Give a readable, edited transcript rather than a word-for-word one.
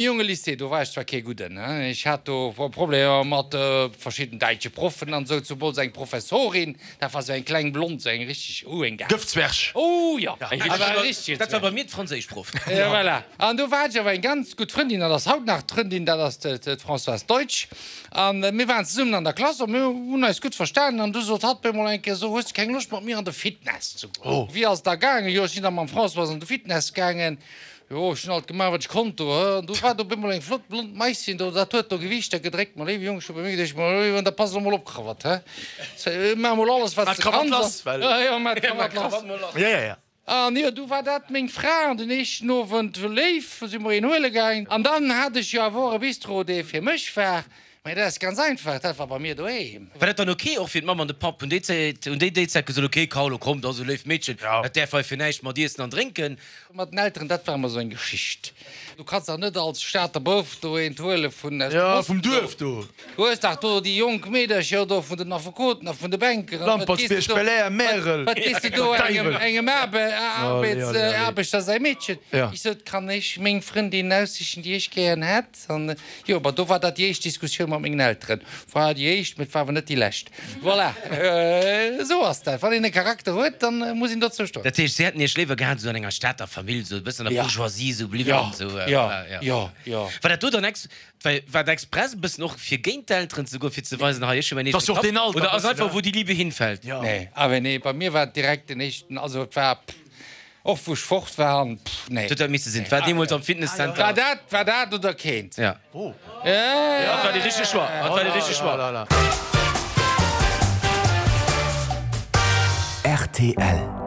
Jongelycée, do war ech zwar kee Gudden, ech hat do Problemer mat verschidden däitsche Proffen an esou, zumools eng Professorin, dat war esou eng kleng Blond, esou eng richteg, uh, eng Gaf. Gëftzwerg. Oh jo, awer e richtege Dat war bei mir d'Franséischproff. Jo, voilà. An do war ech awer eng ganz gutt Frëndin, dat ass haut nach d'Frëndin, dat ass d'Françoise Deutsch. A mir waren zesummen an der Klass a mir hunn eis gutt verstanen. An du sot hatt bemol eng Kéier, So, hues de keng Loscht mat mir an de Fitness ze goen? Wéi ass et da gaangen? Jo, ech sinn da mam Françoise an de Fitness gaangen. Jo, ech hunn alt gemaach, wat ech konnt do, hë. An du war do op eemol eng flott blond Maisschen do, dat huet do Gewiichter gedréckt. Ma léiwe Jong, ech hu bei mir geduecht, ma léiwe Jong, da pass elo mol op, Krawatt, hë. Maach mol alles, wat s de kanns. Jo, maach d'Krawatt lass. An jo, du war dat meng Fra. An den éischten Owend, léif, si mer een huele gaangen. An dann hat ech jo awer och e Bistro, dee fir mech war. Mä dat ass ganz einfach, dat war bei mir doheem. War dat dann ok och fir d'Mamm an de Papp? Hunn déi Zäit, hunn déi déi Zäit gesot, ok Carlo, komm, dat ass e léift Meedchen, dat däerf hei fir näischt mat iessen an drénken? Mat den Elteren, dat war ëmmer esou eng Geschicht. Du kanns dach net als Stater Bouf do eent huele vun aus dem Osten do. Du hues dach do déi jonk Meedercher do vun den Affekoten a vun de Banker. An wat gees de do, wat gees de do engem, engem Aarbechter säi Meedchen? Ech sot, Kann ech meng Frëndin aussichen, déi ech gären hätt? An jo, ma do war dat déi éischt Diskussioun mat mengen Elteren. War déi éischt, mee et war awer net déi lescht. Voilà, esou ass dat. Wann een e Charakter huet, dann muss een dozou stoen. Dat heescht, si hätten Iech léiwer gehat esou an enger Stater Famill, esou e bëssen an der Bourgeoisie esou bliwwen, esou, voilà, jo. Jo, jo. War dat do dann ex, well war dat express e bëssen och fir géint d'Elteren ze goen, fir ze weisen, hei ech hu mäin eegene Kapp, oder ass einfach wou déi Liebe hinfällt? Nee, awer nee, bei mir war et direkt den éischten, also et war, Och wou ech fort war an pff nee. Huet dat misse sinn. War deemols am Fitnesscenter. War dat, war dat oder keent. Ja. Dat war dee richtege Choix. Dat war dee richtege Choix. Rtl.